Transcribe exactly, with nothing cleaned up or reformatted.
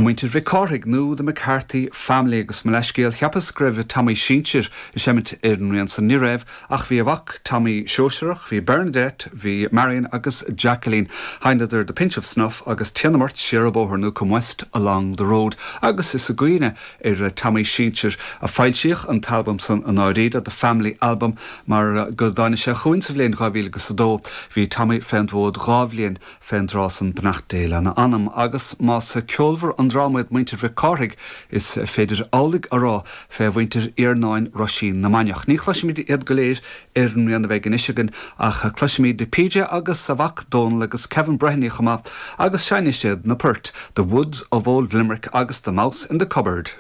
Muintir Mhic Cárthaigh nó the McCarthy Family agus mo leithscéal cheapas go raibh Tommy Sinsir ag seimint ar an rian san ní raibh ach bhí a mhac Tommy Sóisearach, bhí Bernadette, bhí Marion agus Jacqueline. Sheinneadar the Pinch of Snuff agus Téanam Ort Siar an Bóthar nó Come West Along the Road agus is i gcuimhne ar Tommy Sinsir a foilsíodh an t-albam san an áiríre the Family Album mar go dtáinig sé chugainn sa bhliain dhá mhíle agus a dó. Bhí Tommy fén bhfód dhá bhliain fén dtráth san beannacht Dé lena anam agus más ceolmhar an dream iad muintir Mhic Cárthaigh is féidir amhlaidh a rá fé mhuintir Iarnáin Roisín na Mainiach. Ní chloisfimid iad go léir ar an rian a bheidh anois againn ach cloisfimid PJ agus a mhac Dónal agus Kevin Breheny chomh maith agus seinnfidh siad na poirt, The Woods of Old Limerick agus The Mouse in the Cupboard.